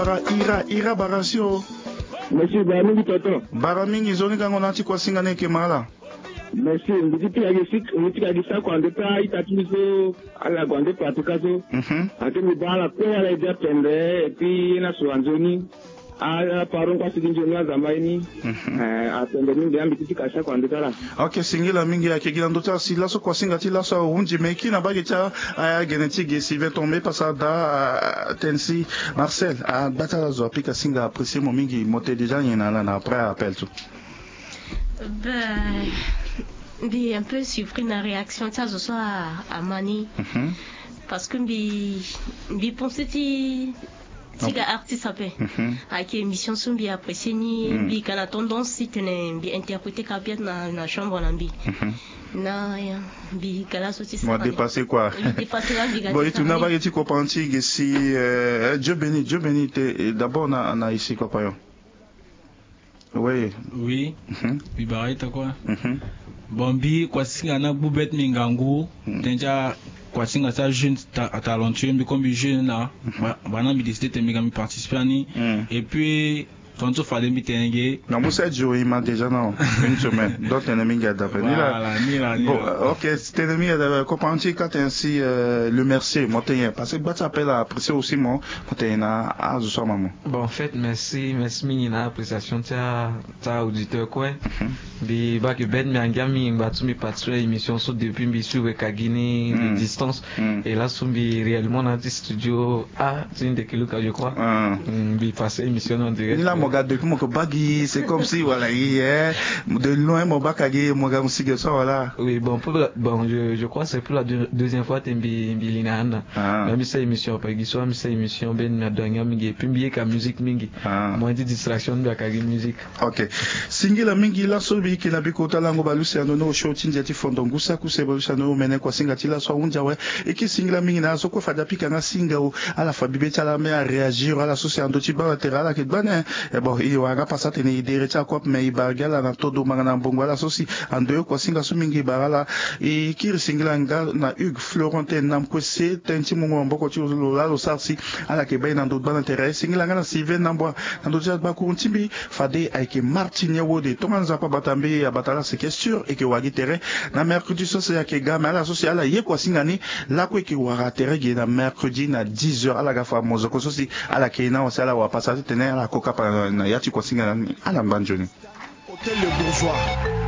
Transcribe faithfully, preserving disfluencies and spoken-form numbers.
Ira ira ira bara si o. Merci bara mingi tonton. Bara mingi nzoni gango na ti kuasinga ni eke ma ala. Merci mbi ti pika gi sik mbi ti pika gi sako ande ti a-ita ti mbi so. Ala gue ande pratika so. Mhm. Ake mbi baa ala kue ala ede apende. Et puis ye ni aso anzoni. Ala pardon kua si gi nzoni azamba ye ni. Mhm. Eh, apende mingi ambi ti pika sako ande ti ala. Ok singila mingi ayeke gi na ndö ti ala si laso kuasinga ti laso ahunzi me e kiri na mbage ti a. Aya gene ti ge sylvain tombe pasa daa. Tënë si marcel agba ti ala zo apika singa apprécier mo mingi mo te déjà nyen na ala na après appel so. Ben, mbi un peu surpris na réaction ti azo so ama ni. Parce que mbi mbi pense ti ti ga artiste ape. Ayeke émission so mbi apprécier ni mbi ga na tendance ti tene mbi interpréter ka bien na chambre na mbi. Na mbi ga laso ti sa. Dépassé quoi. Bon e tuna mbage ti kopanti ge si. Dieu béni dieu béni te d'abord na na isi kopayon. Oui. Oui. Mbi bara ita kue. Bon mbi kuasinga na gbu bête mbi ngangu. Tënë ti akuasinga ti ajeune talentueux mbi ko mbi jeune na. Bana mbi décide te mbi ga mbi participer ani. Et puis tontu fade mbi tene ge. Na musa dio ima déjà na une semaine donc tene mingi adape ni la. Bon ok. Tene mingi adape kopanti kate ainsi. Le mercier mo tene parce que gba ti appel apprécier aussi mo. Mo tene na azo so ama mo. Bon en fait merci merci mingi na appréciation ti a ti a auditeur kue. Mbi bake bête mbi angia mingi ngba ti mbi participer émission so depuis mbi suivre kagi ni de distance. Et laso mbi réellement na ti studio a ti ndeke luka je crois. Mbi passe émission ni en direct ni la mo ga depuis mo ke bagi c'est comme si wala ye. De loin mo baka gi mo ga mo sige so wala. Oui bon pour bon je crois c'est pour la deuxième fois te mbi mbi li na ana. Même sa émission après gi so ami sa émission ben na donga mingi et puis mbi yeka musique mingi. Moyen ti distraction mbi aka gi musique. Ok. Singila mingi laso mbi yeke na bikota lango balusi ando ni osio ti ndia ti fondo ngusa kuse balusi ando ni omene kuasinga ti laso ahunzi awe. Eke singila mingi na ala so kue fade apika nga singa o. Ala fa bibe ti ala me aréagir ala so si ando ti baa na tere ala yeke gbane. Bon e wara nga pasa atene e dere ti akuape me e bara gi ala na todo manga na mbongo ala so si ando ye kuasinga so mingi e bara ala. E kiri singila nga na hugues florentin na mkue se tënë ti mungo maboko ti lo laa lo sara si ala yeke baa e na ndo gbaa na tere singila nga na sylvain nambua. Na ndo ti agbakuru ti mbi fade ayeke martin ya wode tongana nzapa abata mbi abata ala seke sûr eke wagi tere. Na mercredi so si ayeke ga me ala so si ala ye kuasinga ni. Lakue eke wara tere ge na mercredi na dix heures ala ga fa mozoko so si ala yeke ye na awa si ala wara pasa ti tene ala koka pa na ya ti kuasinga na ni ala ngba nzoni. Hôtel le bourgeois.